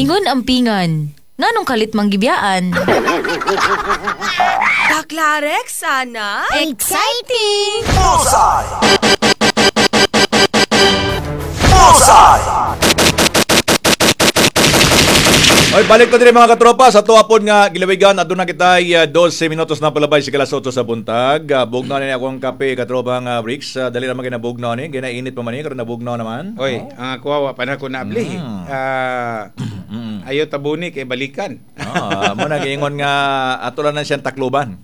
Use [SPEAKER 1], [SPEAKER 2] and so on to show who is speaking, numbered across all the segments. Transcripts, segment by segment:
[SPEAKER 1] Ingon ang pingan. Nganong kalit mang gibiyaan?
[SPEAKER 2] Kaklarex, sana?
[SPEAKER 1] Exciting!
[SPEAKER 3] Bullseye! Bullseye!
[SPEAKER 4] Oy, balik ko diri, mga katropa, sa tuwa pod nga gilawigan. Aduna kita 12 minutos na palabay sa alas 8 sa buntag. Bugnaw na ni akong kape, katropa nga Bricks. Dali ra man kinabugnaw ni, ginainit pa man ni karon, nabugnaw naman.
[SPEAKER 5] Oy, ang ako wa pa na ko naabli. Ah, ayo tabuni kay balikan.
[SPEAKER 4] Ah, mo na giingon nga ato lang na siyang takluban.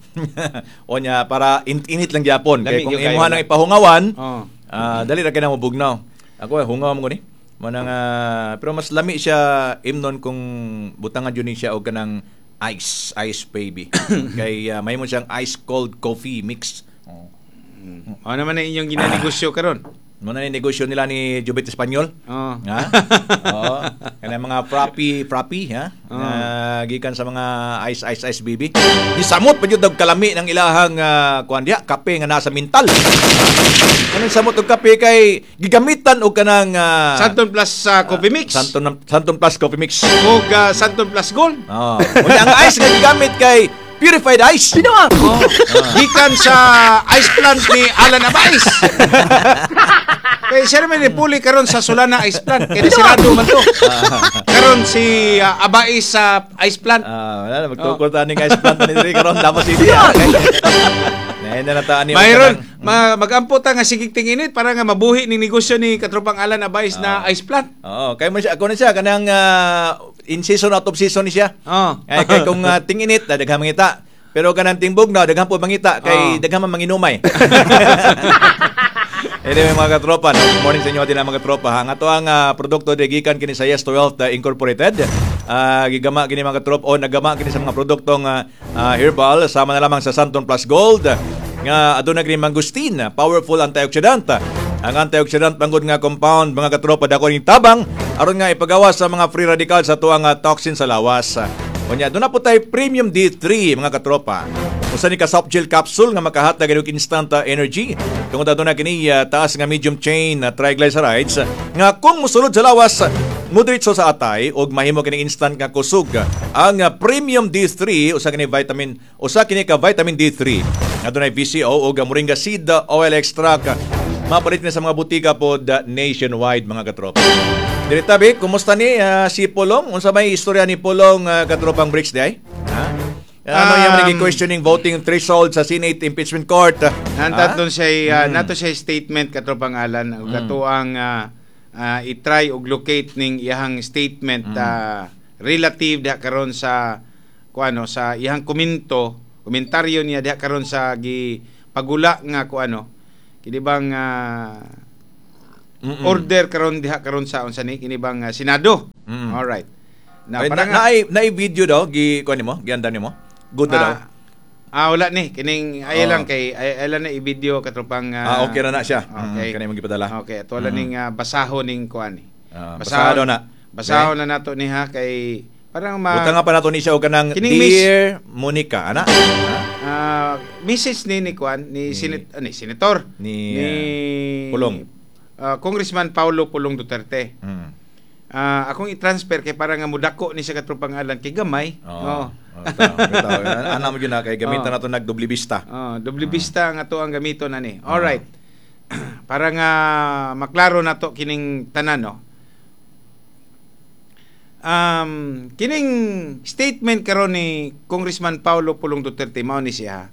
[SPEAKER 4] O nya para init lang gyapon kay
[SPEAKER 5] Lami
[SPEAKER 4] kung
[SPEAKER 5] gyud kayo
[SPEAKER 4] imuha
[SPEAKER 5] na.
[SPEAKER 4] nang ipahungawan, dali ra kay na mobugnaw. Ako eh, hungaw mo ko ni. Mo na nga pero mas lami siya imnon kung butangan jud ni siya og kanang ice, ice baby. Kay mahimo siyang ice cold coffee mix. Oh.
[SPEAKER 5] Ano naman ang inyong ginanegosyo karon?
[SPEAKER 4] Mo na ni negosyo nila ni Jubit Espanyol. Ha? Oo. Kanang mga frappy, frappy, ha? Na gikan sa mga ice, ice, ice baby. Gisamot pa jud og kalami ng ilahang kuan diha, kape nga nasa mintal. Kanang samot og kape kay gigamitan og kanang
[SPEAKER 5] Santon Plus Coffee Mix.
[SPEAKER 4] Santon, Santon Plus Coffee Mix.
[SPEAKER 5] Ug Santon Plus Gold.
[SPEAKER 4] Oo. Unya ang ice nga gigamit kay purified ice.
[SPEAKER 5] Oh. Gikan sa ice plant ni Alan Abais. Kay siya naman ni puli karon sa Solana Ice Plant. Kay nasirado man to. Karon si Abais sa ice plant.
[SPEAKER 4] Ah, wala na magtukod ta ning ice plant ni diri karon Davao City. Ah. Nahin na nataan ni
[SPEAKER 5] Mayroon magampo ta nga sigig tinginit para nga mabuhi ning negosyo ni katropang Alan Abais na ice plant.
[SPEAKER 4] Oo, kay mo siya ako na siya kanang in season, out of season ni siya. Ay kay kung tinginit na daghang mangita. Pero kanang tingbog na daghan po mangita kay daghan man manginumay. Anyway, mga katropa, no? Good morning sa inyo atin mga katropa. Ha? Ang ato ang produkto de gikan kini sa Yes to Wealth Incorporated. Gigama kini, mga katropa, o nagama kini sa mga produktong herbal sama na lamang sa Santon Plus Gold nga aduna kini mangosteen, powerful antioxidant. Ang antioxidant manggod nga compound, mga katropa, dako ning tabang aron nga ipagawa sa mga free radical sa tuang toxin sa lawas. Unya aduna po tay premium D3, mga katropa. Usa ni ka soft gel capsule nga makahatag og instant energy. Tungod aduna kini taas nga medium chain triglycerides nga kung mosulod sa lawas mudiretso sa atay og mahimo kini instant nga kusog. Ang premium D3 usa kini vitamin, usa kini ka vitamin D3. Adunay VCO og moringa seed oil extract. Mapalit ni sa mga butika pod nationwide, mga katropa. Diri tabi, kumusta ni si Pulong? Unsa may istorya ni Pulong, katropang Bricks di ay? Ha? Ano yung questioning voting threshold sa Senate impeachment court?
[SPEAKER 5] Nanta doon siya nato siya statement, katropang Alan, ug atoang i-try og locate ning iyahang statement relative diha karon sa kuano, sa iyahang komentaryo niya diha karon sa gi pagula nga kuano kini bang order karon diha karon sa unsa ni kini bang Senado. All right.
[SPEAKER 4] Na,
[SPEAKER 5] Na,
[SPEAKER 4] ay,
[SPEAKER 5] para
[SPEAKER 4] na,
[SPEAKER 5] nga,
[SPEAKER 4] naay video daw gi kuan nimo, gianda nimo. Good na daw.
[SPEAKER 5] Ah, wala ni kining ay lang kay ay lang na i-video, katropang
[SPEAKER 4] Ah, okay ra na siya.
[SPEAKER 5] Okay.
[SPEAKER 4] Kanay mong gipadala.
[SPEAKER 5] Okay, ato lang ning basaho ning kuan ni.
[SPEAKER 4] Ah, basahon na.
[SPEAKER 5] Basahon na nato ni ha kay parang ma
[SPEAKER 4] Buta nga pa nato ni siya og kanang
[SPEAKER 5] Kining
[SPEAKER 4] Dear Monica, ana.
[SPEAKER 5] Mrs. ni kuan ni senat ni senator
[SPEAKER 4] Ni, Pulong.
[SPEAKER 5] Congressman Paulo Pulong Duterte. Ah, akong i-transfer kay para nga mudako ni siya, katropang Alan, kay gamay.
[SPEAKER 4] Oo. Oh. Bitaw, ana mo gyud na kay gamitan nato nagdoble vista.
[SPEAKER 5] Oh, doble vista nga to ang gamito na ni. All right. Para nga maklaro nato kining tanan, no. Kining statement karon ni Congressman Paulo Pulong Duterte mao ni siya.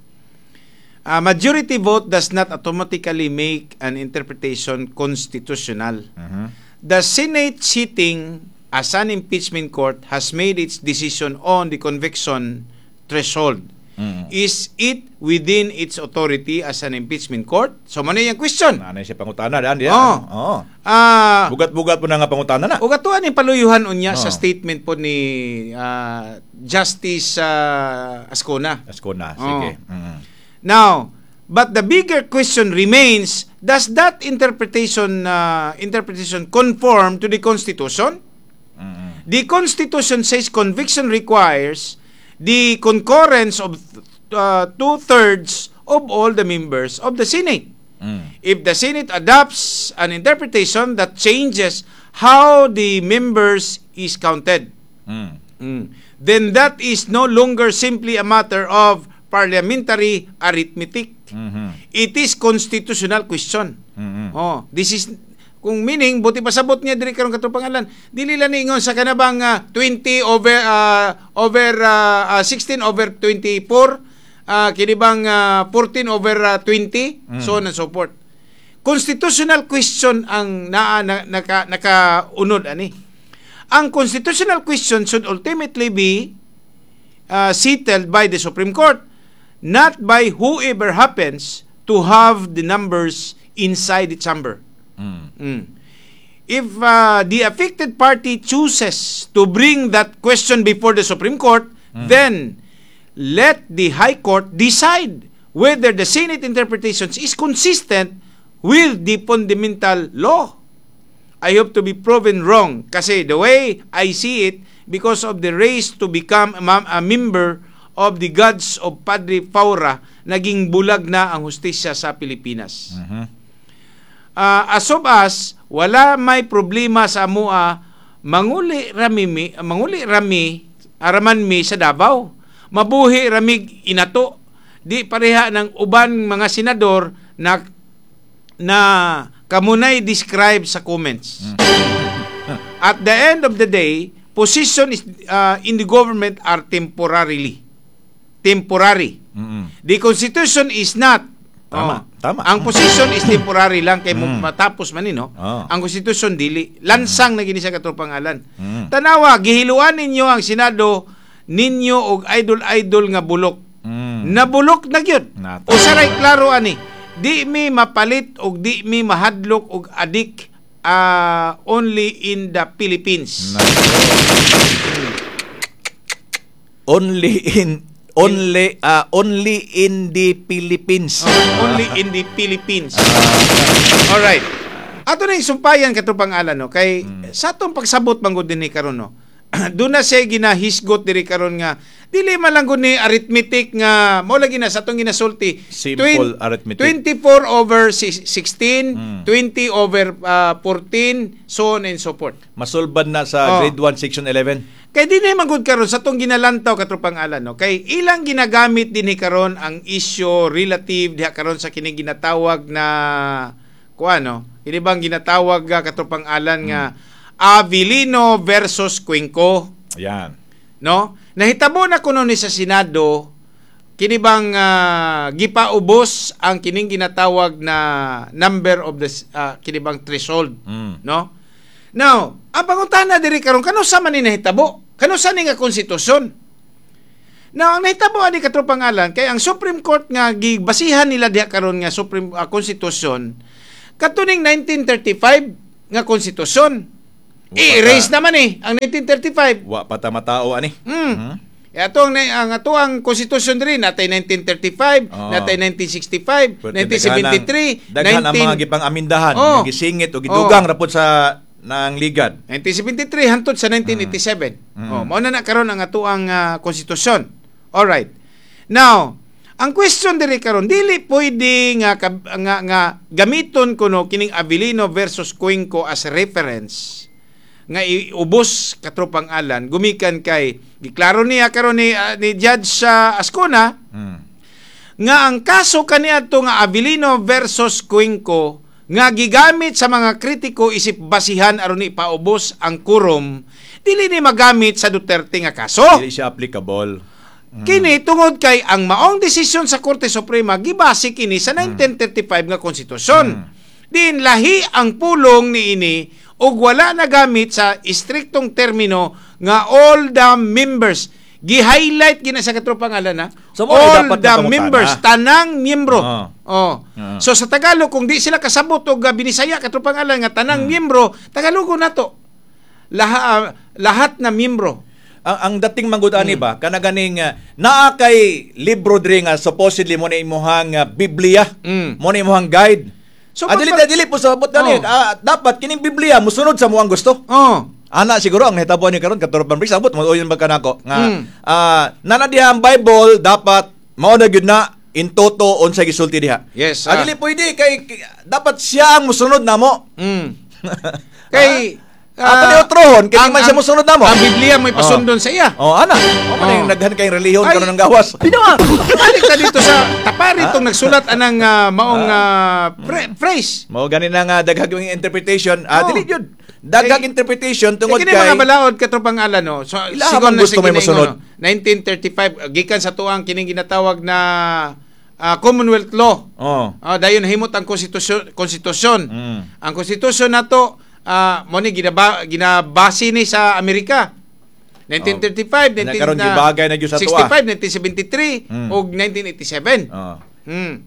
[SPEAKER 5] A majority vote does not automatically make an interpretation constitutional. The Senate sitting as an impeachment court has made its decision on the conviction threshold. Is it within its authority as an impeachment court? So, mao yung question.
[SPEAKER 4] Ana siya pangutana daan diya.
[SPEAKER 5] Oo.
[SPEAKER 4] Oo.
[SPEAKER 5] Ah,
[SPEAKER 4] Bugat-bugat po na nga pangutana na.
[SPEAKER 5] ug ato ni paluyuhan unya sa statement po ni Justice Azcuna.
[SPEAKER 4] Azcuna, sige.
[SPEAKER 5] Now, but the bigger question remains, does that interpretation conform to the Constitution? The Constitution says conviction requires the concurrence of two-thirds of all the members of the Senate. If the Senate adopts an interpretation that changes how the members is counted, Then that is no longer simply a matter of parliamentary arithmetic. It is constitutional question. Oh, this is kung meaning buti pasabot niya diri karon, katropang Alan, dili lang niingon sa kanabang 20 over over 16 over 24, kini bang 14 over 20, so on and so forth. Constitutional question ang naa na, naka nakaunod ani. Ang constitutional question should ultimately be settled by the Supreme Court, not by whoever happens to have the numbers inside the chamber. If the affected party chooses to bring that question before the Supreme Court, then let the High Court decide whether the Senate interpretations is consistent with the fundamental law. I hope to be proven wrong kasi the way I see it, because of the race to become a member of the gods of Padre Faura, naging bulag na ang hustisya sa Pilipinas. As of us, wala may problema sa amua, manguli rami araman mi sa Davao. Mabuhi ramig inato. Di pareha ng uban mga senador na na kamunay describe sa comments. At the end of the day, position is in the government are temporarily. Temporary. The constitution is not.
[SPEAKER 4] Tama,
[SPEAKER 5] Oh.
[SPEAKER 4] tama.
[SPEAKER 5] Ang position is temporary lang kay mo matapos man ni, no.
[SPEAKER 4] Oh.
[SPEAKER 5] Ang constitution dili. Lansang na gini sa, katropang Alan. Tanawa, gihiluan ninyo ang Senado ninyo og idol-idol nga bulok. Nabulok na gyud.
[SPEAKER 4] Nata.
[SPEAKER 5] Usaray klaro ani. Di mi mapalit og di mi mahadlok og adik, only in the Philippines.
[SPEAKER 4] Only in the Philippines.
[SPEAKER 5] Oh, only in the Philippines. All right. Ato na yung sumpayan, katropang Alan, no, kay sa atong pagsabot man gud dinhi karon, no. Doon na siya ginahisgot diri karon nga dili man lang gud ni arithmetic nga mao lagi na sa atong ginasulti.
[SPEAKER 4] Simple arithmetic.
[SPEAKER 5] 24 over 16, 20 over 14, so on and so forth.
[SPEAKER 4] Masulbad na sa grade 1 section 11.
[SPEAKER 5] Kay di na man gud karon sa atong ginalantaw, katropang Alan, no, kay ilang ginagamit dinhi karon ang issue relative diha karon sa kini ginatawag na kuan, no. Kini bang ginatawag katropang Alan, nga Avelino versus Cuenco,
[SPEAKER 4] Yan.
[SPEAKER 5] no? Nahitabo na kuno ni sa Senado kini bang gipaubos ang kining ginatawag na number of the kini bang threshold, no? Now, ang pangutana diri karon, kano sa man ni nahitabo? Kano sa ni nga konstitusyon? Now, ang nahitabo ani, katropang Alan, kay ang Supreme Court nga gibasihan nila diha karon nga Supreme Constitution katuning 1935 nga konstitusyon. I-erase naman eh ang 1935.
[SPEAKER 4] Wa pa ta matao ani.
[SPEAKER 5] E ato ang ato ang konstitusyon diri natay 1935, natay 1965,
[SPEAKER 4] Pwerte
[SPEAKER 5] 1973,
[SPEAKER 4] daghan ang mga gipang amindahan, nga gisingit o gidugang rapod sa nang ligad.
[SPEAKER 5] 1973 hantod sa 1987. Oh, mao na na karon ang atoang konstitusyon. All right. Now, ang question diri karon, dili pwede nga nga, nga gamiton kuno kining Avelino versus Cuenco as reference nga iubos, katropang Alan, gumikan kay giklaro niya karon ni Judge sa Azcuna nga ang kaso kaniadto nga Avelino versus Cuenco nga gigamit sa mga kritiko isip basihan aron ipaubos ang quorum, dili ni magamit sa Duterte nga kaso.
[SPEAKER 4] Dili siya applicable.
[SPEAKER 5] Kini tungod kay ang maong desisyon sa Korte Suprema gibase kini sa 1935 nga konstitusyon. Din lahi ang pulong niini ug wala nagamit sa istriktong termino nga all the members. Gi-highlight gina sa, katropang Alan, ha.
[SPEAKER 4] So, mao ay
[SPEAKER 5] All
[SPEAKER 4] dapat
[SPEAKER 5] the
[SPEAKER 4] na pangutana.
[SPEAKER 5] members, tanang miyembro. Oh. So sa Tagalog, kung di sila kasabot og Binisaya, katropang Alan, nga tanang miyembro, Tagalogo nato. Lahat na miyembro.
[SPEAKER 4] Ang dating manggod ani ba kana ganing naa kay libro diri nga supposedly mo na imuhang Biblia, mo na imuhang guide.
[SPEAKER 5] So,
[SPEAKER 4] So, dili dili po sa abot gani. Dapat kining Biblia musunod sa muang gusto. Ana siguro ang nahitabo ni karon, katropang Briggs, abot mo yun ba kanako nga nana diha ang Bible, dapat mao na gyud na in toto unsay gisulti diha. Dili pwede kay dapat siya ang musunod namo.
[SPEAKER 5] Kay
[SPEAKER 4] Ato ni otrohon kay di man siya mosunod namo.
[SPEAKER 5] Ang Biblia mo'y pasundon sa iya.
[SPEAKER 4] Oh, ana. O man yung naghan kay relihiyon
[SPEAKER 5] Ay.
[SPEAKER 4] karon ng gawas.
[SPEAKER 5] Binawa. Balik ta dito sa tapari itong nagsulat anang maong phrase.
[SPEAKER 4] Mao gani na nga daghag yung interpretation. Ah,
[SPEAKER 5] Oh.
[SPEAKER 4] dili jud. Daghag
[SPEAKER 5] Kay-
[SPEAKER 4] interpretation tungod
[SPEAKER 5] kini
[SPEAKER 4] kay
[SPEAKER 5] mga balaod katropang ala no. So
[SPEAKER 4] Ilaha
[SPEAKER 5] sigon
[SPEAKER 4] man
[SPEAKER 5] na
[SPEAKER 4] gusto
[SPEAKER 5] sa
[SPEAKER 4] may
[SPEAKER 5] kini
[SPEAKER 4] mosunod.
[SPEAKER 5] no, 1935 gikan sa tuang kining ginatawag na Commonwealth Law.
[SPEAKER 4] Oh.
[SPEAKER 5] Dayon nahimot ang konstitusyon konstitusyon. Ang konstitusyon nato mo ni ginabase ni sa Amerika. 1935,
[SPEAKER 4] Oh. Na karon gibagay na gyud sa tuwa.
[SPEAKER 5] 65, 1973 ug 1987.
[SPEAKER 4] Oh.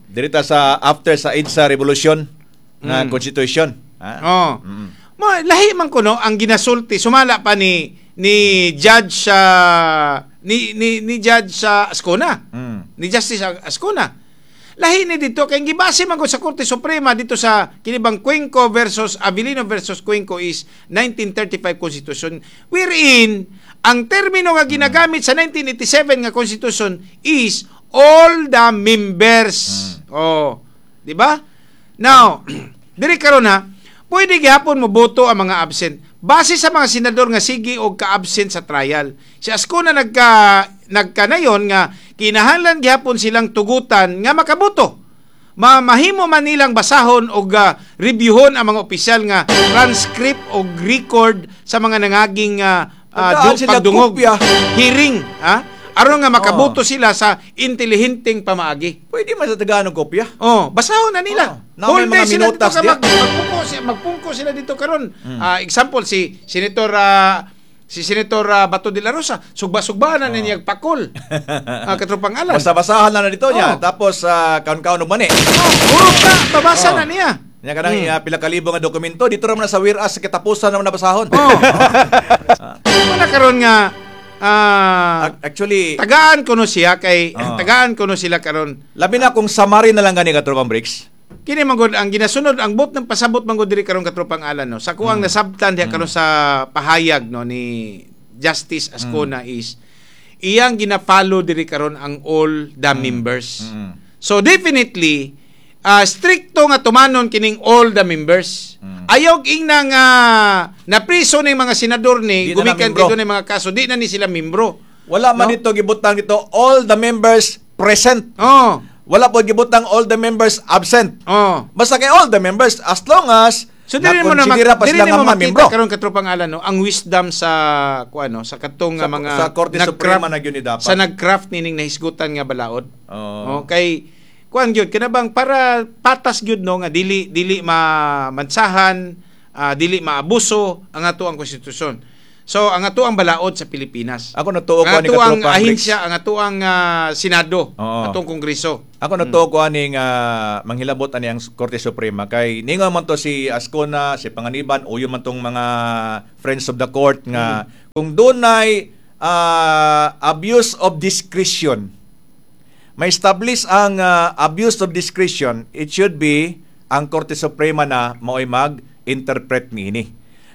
[SPEAKER 4] Dirita sa after sa EDSA Revolution na constitution. Ah.
[SPEAKER 5] Oh. Mo lahi man kuno ang ginasulti sumala pa ni ni judge sa ni ni ni judge sa Ascona. Ni Justice Ascona. Lahi ni dito kay gibase man gud sa Korte Suprema dito sa kinibang Cuenco versus Avelino versus Cuenco is 1935 Constitution, wherein ang termino nga ginagamit sa 1987 nga Constitution is all the members. Oh, di ba? Now, diri karon ha, pwede gihapon mo boto ang mga absent. Base sa mga senador nga sige og ka-absent sa trial. Si Ascona nagkanayon nga kinahanglan gihapon silang tugutan nga makaboto. Mahimo man nilang basahon og reviewhon ang mga opisyal nga transcript og record sa mga nangaging
[SPEAKER 4] Pagdaan sila
[SPEAKER 5] pagdungog,
[SPEAKER 4] kopya.
[SPEAKER 5] hearing, ha? Aron nga makaboto sila sa intelihenteng pamaagi.
[SPEAKER 4] Pwede man sa tagaan og kopya.
[SPEAKER 5] Oh, basahon na nila.
[SPEAKER 4] Oh, na may
[SPEAKER 5] Whole day
[SPEAKER 4] mga
[SPEAKER 5] sila dito
[SPEAKER 4] minutas
[SPEAKER 5] ka
[SPEAKER 4] diya.
[SPEAKER 5] magpungko sila dito karon. Example si Senator Bato de la Rosa, sugba-sugbaan na niya pakol. Katropang Alan.
[SPEAKER 4] Basta-basahan na dito niya.
[SPEAKER 5] Oh.
[SPEAKER 4] Tapos kaon-kaon og mani.
[SPEAKER 5] Oh, urot na, babasa
[SPEAKER 4] Oh.
[SPEAKER 5] na niya.
[SPEAKER 4] Nya kanang pila ka libo nga dokumento dito ra man na sa whereas sa katapusan naman nabasahon.
[SPEAKER 5] Oh. Wala karon nga
[SPEAKER 4] Actually,
[SPEAKER 5] tagaan kuno siya kay
[SPEAKER 4] Oh.
[SPEAKER 5] tagaan kuno sila karon.
[SPEAKER 4] labi na kung summary na lang gani katropang Bricks.
[SPEAKER 5] Kini man gud ang ginasunod ang bot ng pasabot man gud diri karon katropang Alan no. Sa kuang nasabtan diha karon sa pahayag no ni Justice Ascona is iyang gina-follow diri karon ang all the members. So definitely stricto nga tumanon kining all the members. Ayaw ingna nga napriso ning mga senador ni
[SPEAKER 4] Di na na
[SPEAKER 5] gumikan
[SPEAKER 4] membro.
[SPEAKER 5] dito ni mga kaso di na ni sila membro.
[SPEAKER 4] Wala man
[SPEAKER 5] No?
[SPEAKER 4] dito gibutang dito all the members present.
[SPEAKER 5] Oh.
[SPEAKER 4] Wala po gibutang all the members absent.
[SPEAKER 5] Oh.
[SPEAKER 4] Basta kay all the members as long as
[SPEAKER 5] So dili mo na
[SPEAKER 4] nakonsidera pa
[SPEAKER 5] dili
[SPEAKER 4] sila nga
[SPEAKER 5] mo
[SPEAKER 4] mga
[SPEAKER 5] makita
[SPEAKER 4] membro.
[SPEAKER 5] karon katropang Alan no, ang wisdom sa kuano sa katong nga mga
[SPEAKER 4] Sa Korte Suprema na gyud ni dapat.
[SPEAKER 5] Sa nag-craft nining nahisgutan nga balaod.
[SPEAKER 4] Oo.
[SPEAKER 5] Oh, kay kuan gyud kinabang para patas gyud no nga dili dili mansahan, dili maabuso ang ato ang konstitusyon. So ang ato ang balaod sa Pilipinas.
[SPEAKER 4] Ako natuo ko
[SPEAKER 5] Ang
[SPEAKER 4] ani
[SPEAKER 5] ato ang
[SPEAKER 4] katropang Bricks.
[SPEAKER 5] ahinsya, ang ato ang Senado,
[SPEAKER 4] Oo.
[SPEAKER 5] atong Kongreso.
[SPEAKER 4] Ako natuo ko aning manghilabot ani ang Korte Suprema kay ningon man to si Ascona, si Panganiban o yung man tong mga friends of the court nga kung dunay abuse of discretion, may establish ang abuse of discretion, it should be ang Korte Suprema na mao'y mag-interpret niini.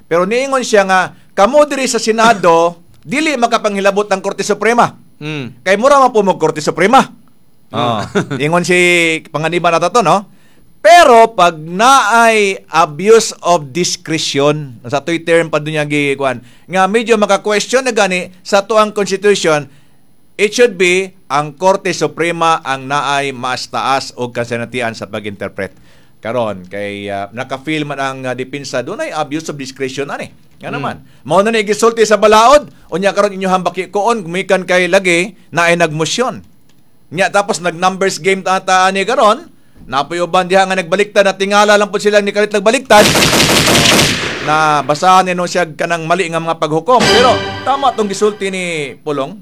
[SPEAKER 4] Pero niingon siya nga kamo diri sa Senado dili makapanghilabot ang Korte Suprema. Kay mura man po mo Korte Suprema. Oh. Ingon si Panganiban na to, no? Pero pag naay abuse of discretion, sa to'y term pa dun niya gikuan, nga medyo maka-question na gani sa tuang constitution, it should be ang Korte Suprema ang naay mas taas og kasanatian sa pag-interpret. Karon kay naka-feel man ang depensa dunay abuse of discretion ani. Nga naman. Mao na ni gisulti sa balaod, unya karon inyo hambaki koon gumikan kay lagi naay nagmosyon. Nya tapos nag-numbers game ta ani karon, napoy uban diha nga nagbaliktad na tingala lang po sila ni kalit nagbaliktad. Na basahan ni no siya kanang mali nga mga paghukom. Pero tama tong gisulti ni Pulong.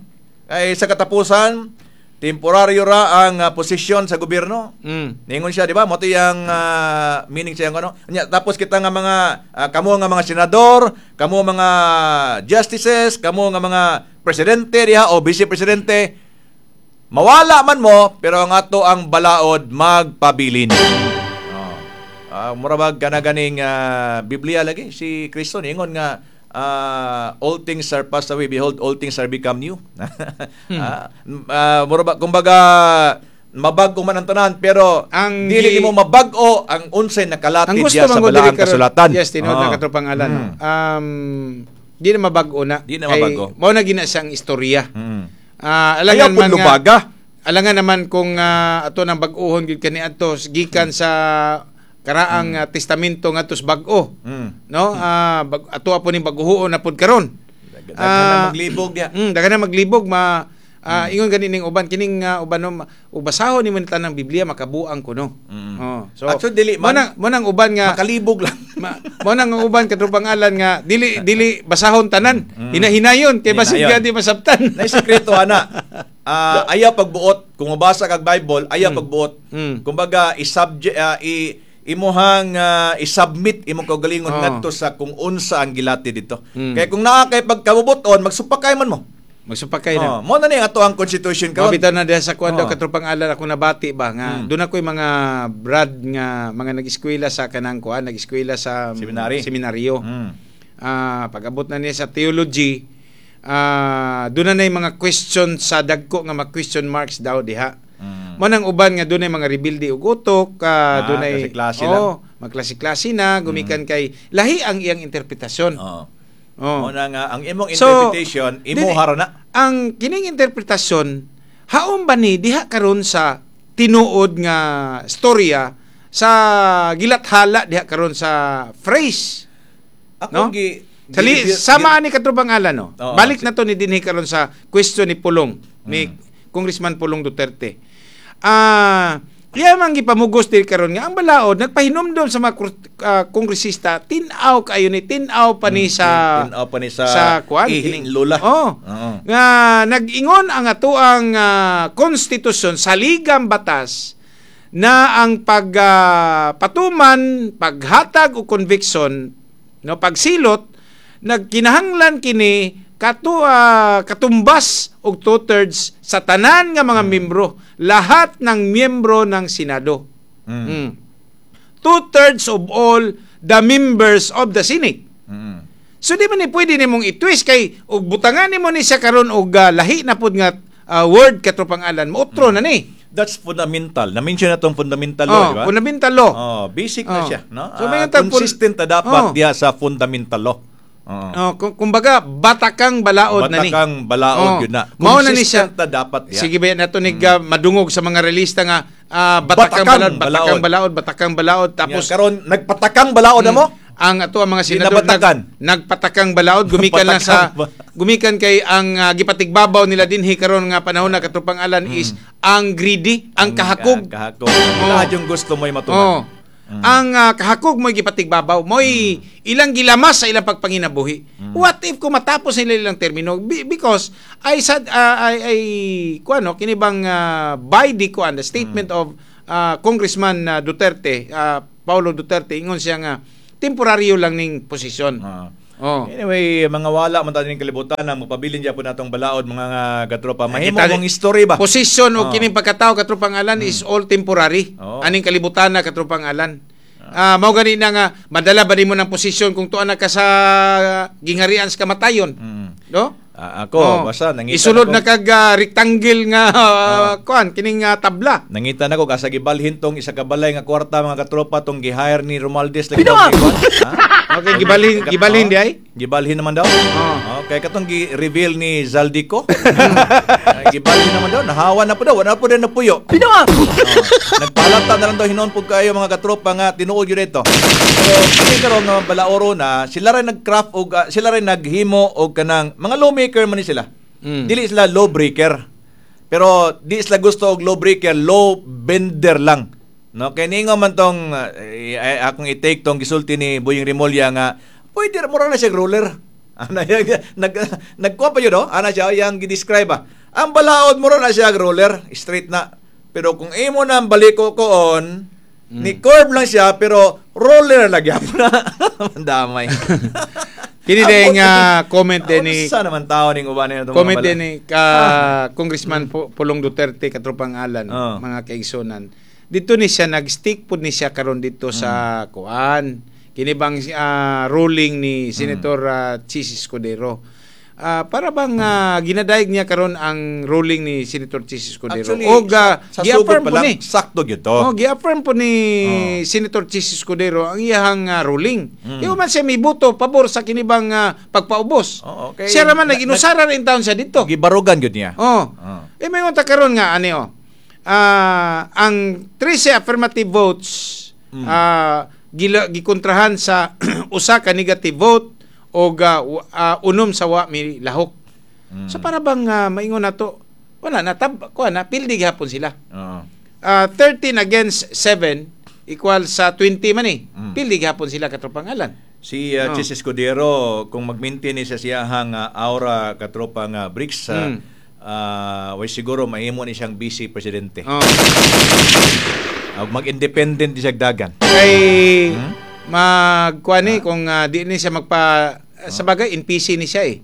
[SPEAKER 4] Ay sa katapusan, temporaryo ra ang posisyon sa gobyerno. Ningon siya, di ba? Mo to yang meaning siya ano. Nya, tapos kita nga mga kamo nga mga senador, kamo mga justices, kamo nga mga presidente diha o vice presidente, mawala man mo pero ang ato ang balaod magpabilin. Oh. Mura bag kana ganing Biblia lagi si Kristo ningon nga all things are passed away, behold all things are become new. Mura ba kumbaga Mabag-o man ang tanan, pero
[SPEAKER 5] Ang
[SPEAKER 4] dili nimo mabag-o ang unsay nakalatid
[SPEAKER 5] Ang gusto
[SPEAKER 4] diya sa
[SPEAKER 5] man gud
[SPEAKER 4] balaan
[SPEAKER 5] diri karon-
[SPEAKER 4] kasulatan.
[SPEAKER 5] Yes, tinuod na, katropang Alan, no? Di na mabag-o na.
[SPEAKER 4] Di na
[SPEAKER 5] Kay
[SPEAKER 4] mabago.
[SPEAKER 5] mao na gina siyang istorya.
[SPEAKER 4] Ayaw
[SPEAKER 5] Alangan
[SPEAKER 4] pud
[SPEAKER 5] man nga,
[SPEAKER 4] lubaga.
[SPEAKER 5] alangan naman kung ato nang bag-ohon gyud kani adto gikan sa karaang testamento ngadto sa bag-o. No? Ato po ning bag-ohoon na pud karon.
[SPEAKER 4] Daghan na maglibog diha.
[SPEAKER 5] Daghan na maglibog ma ingon gani ning uban kining uban no, ubasahon nimo ni tanang Biblia makabuang kuno. Oh, so
[SPEAKER 4] Actually, dili man.
[SPEAKER 5] Mo nang uban nga
[SPEAKER 4] Makalibog lang.
[SPEAKER 5] mo nang ang uban katropang Alan nga dili dili basahon tanan. Hinahinayon kay basig
[SPEAKER 4] Hinayon.
[SPEAKER 5] di masabtan.
[SPEAKER 4] Nay sekreto ana. Ayaw pagbuot kung mabasa kag Bible, ayaw pagbuot. Kumbaga i-subject i imuhang i-submit imong kaugalingon ngadto sa kung unsa ang gilati dito. Kay kung naa kay pagkabubuton, magsupakay man mo.
[SPEAKER 5] Magsupakay na.
[SPEAKER 4] Oh, mo na ni ato ang constitution karon.
[SPEAKER 5] Mabitaw na diha sa kuan daw, katropang Alan, ako nabati ba nga doon ako'y mga brad nga mga nag-eskwela sa kanang kuan, nag-eskwela sa
[SPEAKER 4] Seminary.
[SPEAKER 5] seminaryo. Pag-abot na niya sa theology, doon na yung mga question sa dagko nga mga question marks daw diha. Mo nang uban nga doon ay mga rebuildi og utok, doon ay
[SPEAKER 4] klase-klase lang.
[SPEAKER 5] Oh, magklase-klase na gumikan kay lahi ang iyang interpretasyon.
[SPEAKER 4] Oo.
[SPEAKER 5] Oh.
[SPEAKER 4] Mo na nga ang imong
[SPEAKER 5] So,
[SPEAKER 4] interpretation imo hara na.
[SPEAKER 5] Ang kining interpretasyon haom ba ni diha karon sa tinuod nga storya sa gilathala diha karon sa phrase?
[SPEAKER 4] Ako
[SPEAKER 5] No?
[SPEAKER 4] gi
[SPEAKER 5] Sali, sama ani katropang Alan, no.
[SPEAKER 4] Oo,
[SPEAKER 5] Balik na to ni dinhi karon sa question ni Pulong, ni Congressman Pulong Duterte. Kaya man gipamugos diri karon nga ang balaod nagpahinumdom sa mga kongresista, tin-aw kayo ni, tin-aw pa ni sa
[SPEAKER 4] Tin-aw pa ni sa
[SPEAKER 5] kuan,
[SPEAKER 4] ihing lula.
[SPEAKER 5] Oh.
[SPEAKER 4] Oo.
[SPEAKER 5] Nga nag-ingon ang atoang konstitusyon sa ligang batas na ang pagpatuman, paghatag o conviction, no, pagsilot, nagkinahanglan kini katumbas og 2/3 sa tanan nga mga miyembro, lahat ng miyembro ng Senado. 2/3 of all the members of the Senate. So di man ni pwede nimong i-twist kay og butangan nimo ni siya karon og lahi na pud nga word, katropang Alan, moutro na ni.
[SPEAKER 4] That's fundamental. Na-mention na tong fundamental law,
[SPEAKER 5] Oh,
[SPEAKER 4] di ba?
[SPEAKER 5] fundamental law.
[SPEAKER 4] Oh, basic na
[SPEAKER 5] Oh.
[SPEAKER 4] siya, no?
[SPEAKER 5] So, may tagpon-
[SPEAKER 4] Consistent na dapat
[SPEAKER 5] Oh.
[SPEAKER 4] diha sa fundamental law. Oo.
[SPEAKER 5] Oh, kumbaga batakang balaod na ni.
[SPEAKER 4] Batakang balaod
[SPEAKER 5] Oh.
[SPEAKER 4] yun na.
[SPEAKER 5] Mao na ni siya.
[SPEAKER 4] Consistent na dapat diha.
[SPEAKER 5] Sige ba nato ni madungog sa mga relista nga batakang
[SPEAKER 4] Batakang
[SPEAKER 5] balaod, batakang
[SPEAKER 4] balaod.
[SPEAKER 5] balaod, batakang balaod,
[SPEAKER 4] Tapos
[SPEAKER 5] tapos
[SPEAKER 4] karon nagpatakang balaod na mo?
[SPEAKER 5] Ang ato ang mga senador
[SPEAKER 4] Dinabatakan.
[SPEAKER 5] nagpatakang balaod gumikan lang sa
[SPEAKER 4] Patakang ba-
[SPEAKER 5] gumikan kay ang gipatigbabaw nila dinhi karon nga panahon na, katropang Alan, is ang greedy, ang kahakog.
[SPEAKER 4] Kahakog. Lahat yung gusto mo'y matuman.
[SPEAKER 5] Oh. Ang kahakog mo'y gipatigbabaw, mo'y ilang gilamas sa ilang pagpanginabuhi. What if kung matapos nila ilang termino? Because I said I kuan no, kini bang by the kuan the statement of Congressman Duterte, Paulo Duterte, ingon siya nga temporaryo lang ning posisyon. Oh.
[SPEAKER 4] Anyway, mga wala man tayo ng kalibutan ang mapabilin dyan po natong balaod, mga katropa. Mahimo
[SPEAKER 5] Kita-
[SPEAKER 4] mong history ba?
[SPEAKER 5] Posisyon o
[SPEAKER 4] Oh.
[SPEAKER 5] kining pagkatao, katropang Alan, is all temporary.
[SPEAKER 4] Oo.
[SPEAKER 5] Aning kalibutan na, katropang Alan. Mao gani na nga madala ba nimo ng posisyon kung tuan na ka sa gingarian sa kamatayon? No?
[SPEAKER 4] Ako,
[SPEAKER 5] Oh.
[SPEAKER 4] basta nangita
[SPEAKER 5] Isulod
[SPEAKER 4] na
[SPEAKER 5] na
[SPEAKER 4] ko.
[SPEAKER 5] kag rectangle nga kuan kining tabla.
[SPEAKER 4] Nangita na ko kasa gibalhin tong isa ka balay nga kwarta, mga katropa, tong gi-hire ni Romualdez lagi daw ni kuan. Ha?
[SPEAKER 5] Okay, gibalhin gibalhin di ay.
[SPEAKER 4] Gibalhin naman daw.
[SPEAKER 5] Oh.
[SPEAKER 4] Okay, katong gi-reveal ni Zaldico. Gibalhin naman daw, nahawa na po daw, wala po din napuyo. Pinoang. Nagpalata na lang daw hinon po kayo, mga katropa, nga tinuod yun ito. Pero kini karon nga balaoro na sila rin nag-craft og sila rin naghimo og kanang mga lawmaker man ni sila. Dili sila lawbreaker. Pero di sila gusto og lawbreaker, law bender lang. No, kay ningo man tong akong i-take tong gisulti ni Boying Remulla nga pwede ra mura na siya ruler. Ana yang nagkuha pa yun, no? Ana siya yang gi-describe ba. Ang balaod mura na siya ruler, straight na. Pero kung imo na ang baliko koon, ni curve lang siya pero roller lagi gyapon na. Mandamay.
[SPEAKER 5] Kini din nga comment din ni
[SPEAKER 4] Sa naman tao ning uban nito mga
[SPEAKER 5] comment
[SPEAKER 4] bala.
[SPEAKER 5] din ni Congressman Pulong Duterte, katropang Alan, mga kaigsunan. Dito ni siya nag-stick pud ni siya karon dito sa kuan. Kini bang ruling ni Senator Chis Escudero. Para bang ginadayeg niya karon ang ruling ni Senator Chiz Escudero.
[SPEAKER 4] Actually,
[SPEAKER 5] Og
[SPEAKER 4] sa sugod
[SPEAKER 5] gi-affirm
[SPEAKER 4] pa
[SPEAKER 5] po
[SPEAKER 4] lang,
[SPEAKER 5] ni.
[SPEAKER 4] sakto gyud to.
[SPEAKER 5] Oh, gi-affirm po ni Senator Chiz Escudero ang iyahang ruling. Di man siya miboto pabor sa kinibang pagpaubos.
[SPEAKER 4] Oo, okay.
[SPEAKER 5] Siya raman nag-inusara rin taon siya dito.
[SPEAKER 4] Gibarugan gyud niya.
[SPEAKER 5] Oh.
[SPEAKER 4] Oh.
[SPEAKER 5] Eh may ta karon nga ani oh. Ang 13 affirmative votes gikontrahan sa usa ka negative vote og 6 sa wa milahok. So para bang maingon nato wala na tab kuha na pildi gihapon sila. 13 against 7 equal sa 20 man eh. Pildi gihapon sila, katropang Alan.
[SPEAKER 4] Si Chiz Escudero, kung mag-maintain ni siya siyahang aura, katropa nga BRICS, way siguro mahimo ni siyang vice presidente. Mag-independent di siya dagan.
[SPEAKER 5] Kay magkuan ni kung di ni siya magpa sa bagay NPC ni siya eh.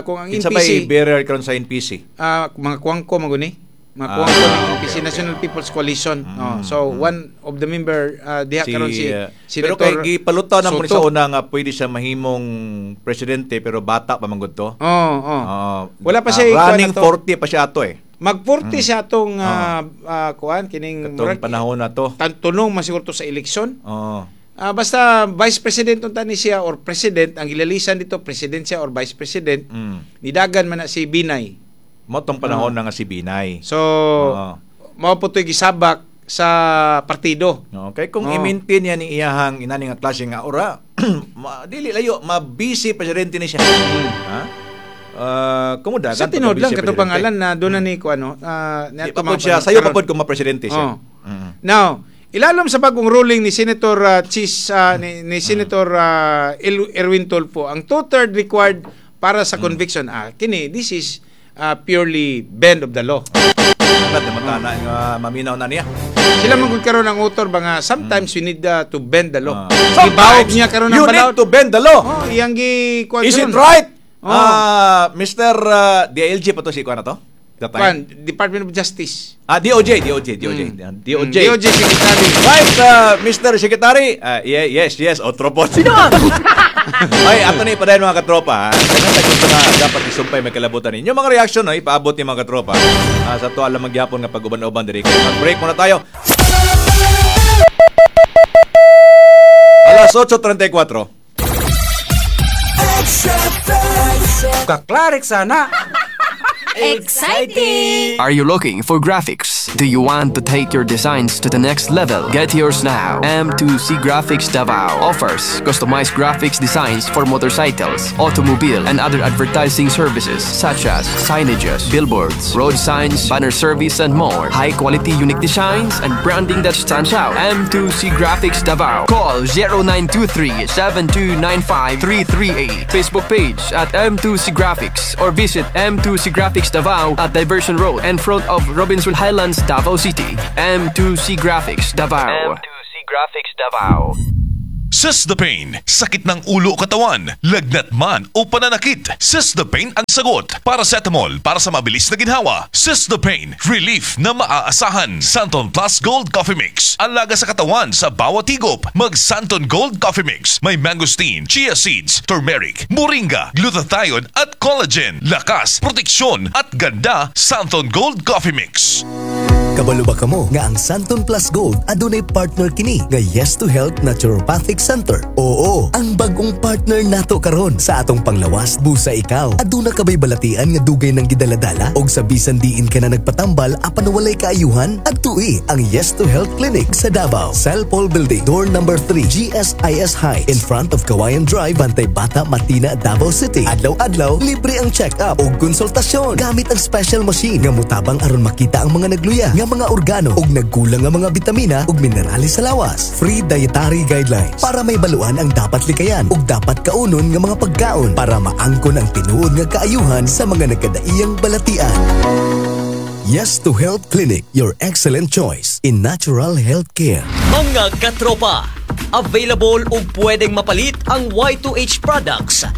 [SPEAKER 5] Kung ang
[SPEAKER 4] Kinsa
[SPEAKER 5] NPC
[SPEAKER 4] bay bearer karon sa NPC?
[SPEAKER 5] Mga kuwangko maguni. Mga kuwangko ng NPC, National People's Coalition. Oh, so one of the member diha karon si
[SPEAKER 4] pero
[SPEAKER 5] Senator
[SPEAKER 4] kay gipalutaw na po ni sa
[SPEAKER 5] Sotto.
[SPEAKER 4] una nga pwede siya mahimong presidente pero bata pa man gud to.
[SPEAKER 5] Oh. Wala pa siya
[SPEAKER 4] running
[SPEAKER 5] ikuan na to.
[SPEAKER 4] 40 pa siya ato eh.
[SPEAKER 5] Mag 40 siya atong kuan kining
[SPEAKER 4] Katong
[SPEAKER 5] murag-
[SPEAKER 4] panahon na to.
[SPEAKER 5] Tunong man siguro to sa eleksyon.
[SPEAKER 4] Oo.
[SPEAKER 5] Basta vice president unta ni siya or president ang gilalisan dito, president siya or vice president. Nidagan man na si Binay.
[SPEAKER 4] Mao tong panahon na nga si Binay.
[SPEAKER 5] So mao po to'y gisabak sa partido.
[SPEAKER 4] Okay, kung i-maintain niya ni iyahang inani nga klase nga aura, dili layo, ma-vice presidente ni siya. Ha? Kumudagan
[SPEAKER 5] Sa tinuod lang
[SPEAKER 4] pagka-vice
[SPEAKER 5] kato
[SPEAKER 4] presidente.
[SPEAKER 5] pangalan na doon na ni ko ano,
[SPEAKER 4] Di pa pod siya, sayo pa pod kung ma-presidente siya.
[SPEAKER 5] Oh. Now, ilalom sa bagong ruling ni Senator Chiz ni Senator Erwin Tulfo, ang two-third required para sa conviction. Kini this is purely bend of the law.
[SPEAKER 4] Agad naman na nga maminaw na niya.
[SPEAKER 5] Sila man gud karon ang author ba nga sometimes you need to bend the law.
[SPEAKER 4] Sometimes
[SPEAKER 5] Gibawog niya karon ang
[SPEAKER 4] you
[SPEAKER 5] balaod.
[SPEAKER 4] need to bend the law.
[SPEAKER 5] Oh, iyang gi kuan
[SPEAKER 4] Is it
[SPEAKER 5] karon.
[SPEAKER 4] right?
[SPEAKER 5] Oh.
[SPEAKER 4] Mr. DILG pa to si kuan na to? That time?
[SPEAKER 5] Kuan, Department of Justice.
[SPEAKER 4] DOJ, DOJ, DOJ. DOJ.
[SPEAKER 5] DOJ Secretary.
[SPEAKER 4] Right, Mr. Secretary. Yeah, yes. Otro po. Sino? Ay, ato na ipadayon, mga katropa. Ha? Kaya sa gusto nga dapat isumpay may kalabutan ninyo. Mga reaction, no, ipaabot ni mga katropa. Sa to alam magyapon nga pag-uban-uban diri. Kaya mag-break muna tayo. Alas 8:34.
[SPEAKER 3] Kaklarik sana.
[SPEAKER 1] Exciting!
[SPEAKER 6] Are you looking for graphics? Do you want to take your designs to the next level? Get yours now. M2C Graphics Davao offers customized graphics designs for motorcycles, automobile, and other advertising services such as signages, billboards, road signs, banner service, and more. High quality, unique designs and branding that stands out. M2C Graphics Davao. Call 0923 7295 338. Facebook page at M2C Graphics or visit M2C Graphics Davao at Diversion Road in front of Robinson Highlands, Davao City. M2C Graphics Davao. M2C Graphics Davao.
[SPEAKER 7] Sis the Pain, sakit ng ulo o katawan, lagnat man o pananakit. Sis the Pain ang sagot. Paracetamol para sa mabilis na ginhawa. Sis the Pain, relief na maaasahan. Santon Plus Gold Coffee Mix, alaga sa katawan sa bawat higop. Mag Santon Gold Coffee Mix, may mangosteen, chia seeds, turmeric, moringa, glutathione at collagen. Lakas, proteksyon at ganda, Santon Gold Coffee Mix.
[SPEAKER 8] Kabalo ba kamo nga ang Santon Plus Gold adunay partner kini nga Yes to Health Naturopathic Center? Oo, ang bagong partner nato karon sa atong panglawas busa ikaw. Aduna ka bay balatian nga dugay nang gidaladala og sa bisan diin ka na nagpatambal apan walay kaayuhan? Adtui ang Yes to Health Clinic sa Davao. Cellpol Building, door number 3, GSIS High, in front of Kawayan Drive, Bantay Bata, Matina, Davao City. Adlaw-adlaw, libre ang check-up ug konsultasyon gamit ang special machine nga mutabang aron makita ang mga nagluya nga mga organo ug nagkulang nga mga bitamina ug minerales sa lawas. Free dietary guidelines para may baluan ang dapat likayan ug dapat kaunon nga mga pagkaon para maangkon ang tinuod nga kaayuhan sa mga nagkadaiyang balatian. Yes to Health Clinic, your excellent choice in natural health care.
[SPEAKER 9] Mga katropa, available ug pwedeng mapalit ang Y2H products.